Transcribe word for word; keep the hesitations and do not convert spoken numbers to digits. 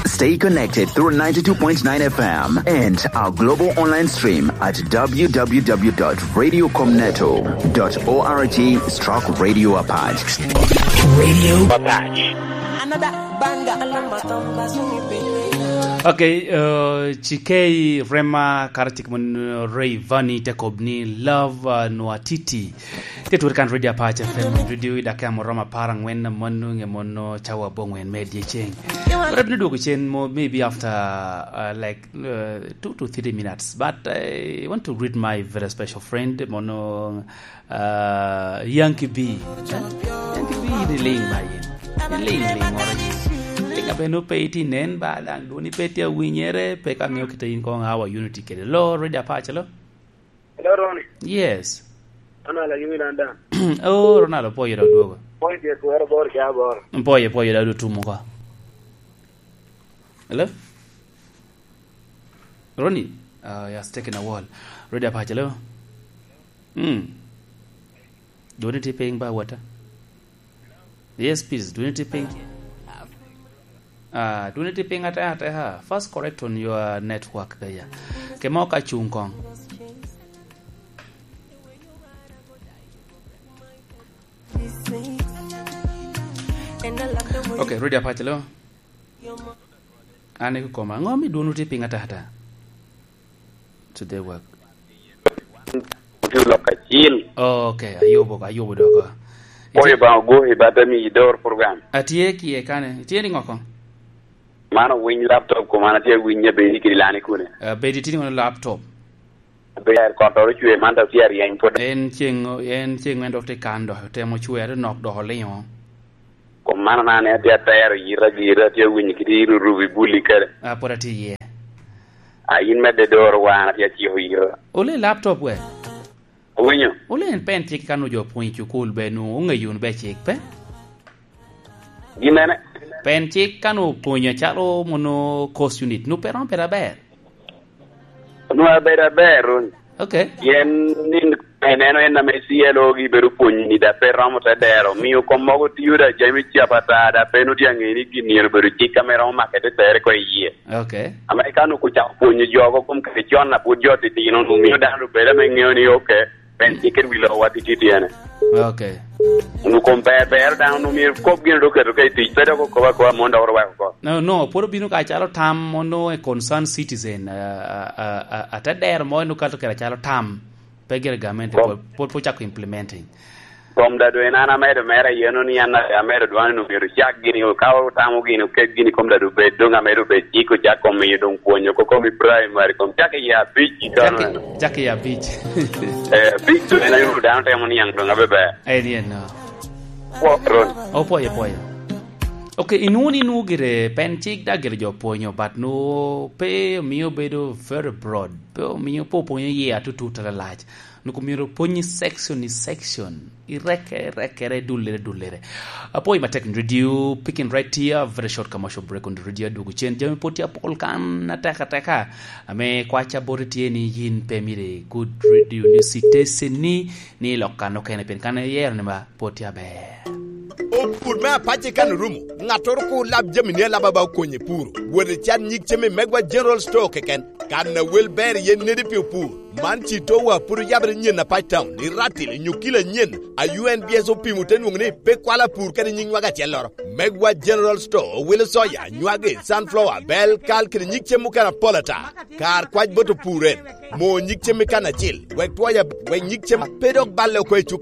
Stay connected through ninety-two point nine F M and our global online stream at w w w dot radio comneto dot org stroke radio apart. Radio Apart. Another banger. Okay, uh, Chikei Rema Karatik Mon, uh, Ray Vani Jacob ni Love, uh, Nwatiti. Te turi kan Radio Apac F M, radio i dakika moromo apar angwen, mano nge mono cawa abongwen me dyeceng. Rep ni dwogo cen mo, maybe after, uh, like, uh, two to three minutes. But I want to greet my very special friend, mono, uh, Yankee B. Yankee B, ni ling ba yin. Ni ling, ling moro yin. Ling abe no pe iti nen ba, dang dwoni pe ti awinyere, pe ka miyo kita yin kong awa unity kede. Lo, Radio Apac, lo? Hello, Ronnie. Yes. Ronald, are you in London? Oh, Ronald, opoyo da dwogo. Point is, where about Jabor? Opoyo, opoyo da du tumo ka. Hello? Ronnie? Uh, yeah, stuck in a wall. Radio Apac, hello? Hmm. Dwoni ti piny ba wata? Yes, please. Dwoni ti piny. Ah, dwoni ti piny ate, ate, ha. First correct on your network there. Kema ok acung kong. Okay, Radio Apac, hello? An i koma. Ngo mi dwoni ti piny ate, ate? Today work. Ote lok acil. Oh, okay, ayubo, ayubo doko. Oye ba ogo i bata mi idor program. Atye kie kane. Itye ni ngoko? Mano winy laptop ko, mano atye winye bedi kidi lani kune. Uh, bedi tini ngono laptop. Ber kotoro chwe man dok tye aryeny pwod. En ceng, en ceng en dok tye kan dok temo chwere nok dok olingo. Kom mano na ne atye atero yita gira, atye winyo kidi rurubi buli kede. Ah, pwod atye iye. A, in medde doro wan, atye aciko ira. Ole laptop we? Owinyo? Ole en pen cik kan ojo pwony i cukul be nu ongeyo wunu be cik pe? Gimene? Pen cik kan opwonyo calo mono course unit, nu pe romo bedo aber? Nu abedo aber, Ron. Okay. Pien ni en eno en ame C L O gi bedo pwonyo ni da pe romo te dero, miyo kom mogo tiyo da jami cap ata, da pe nu tye aŋe ni gin myero bedo cik ame romo make te tere ko i yie. Okay. Amerika nu kucako pwonyo jo oko kom kare con, a pwod jo titino, nu miyo dano obedo ame ŋeo ni, okay, pen cikke wi lowa tititiyene. Okay. Nu kom ber, ber dano nu myero kop gin dok keto ka i tic, pe dok okobo akoba mon dok orwako oko. No, no, pwod obino ka calo tam, ono a concerned citizen, uh, uh, uh, uh, ate dero mo, eno kato kede calo tam, pe gire gamente, Kom- pwod, pwod, pwod cako implementing. Kom da doŋ en an amedo mere ayeno ni an amedo dwano ni myero cak gini, ka otamo gini, oket gini, kom da doŋ bed, doŋ amedo bed cik, ocak kom miyo doŋ pwonyo, ko kom i primary, kom cak i abic i Cak i, kano. Cak i abic. Eh, abic doŋ en ayo dano temo niaŋ doŋ abe ber. En yen, no. Pwok, Ron. Opwoyo, pwoyo. Ok, inwoŋo ni nwoŋo gire pen cik da gire jo pwonyo, but nwoŋo pe omiyo bedo very broad. Pe omiyo, pe opwonyo iye atutut alalac. Nwoŋo myero opwony i section i section, i reke, i rekere, i dullere, dullere. Apwoyo matek in radio, picking right here, very short commercial break on the radio, adwogo cen, jami pwod tye apol kan atek ateka. Ame kwaca bote tye ni yin pe myero i good radio ni sitesen ni, ni lok kan okene pien kan iyero ni ba pwod tye aber. Opur me apac i kan orumo, ŋattoro kur lab jami ni alaba ba okonye puro. Wot i can nyig cem i Megwa General Store keken. Kan a wel ber iye nedi pi opur. Man ci towa pwod oyabere nyen apac town, i Ratil, i Nyukila nyen, a U N B S opimo te nwoŋo ni pe kwalo apur kede nyiŋ nwaga acelloro. Megwa General Store owilo soya, nywagi, sunflower, bel, kal, kede nyig cem mukene apol ata. Kar kwac bot opur en, mo nyig cem i kan acil, wek twoya, wek nyig cem pe dok balle oko i cuk.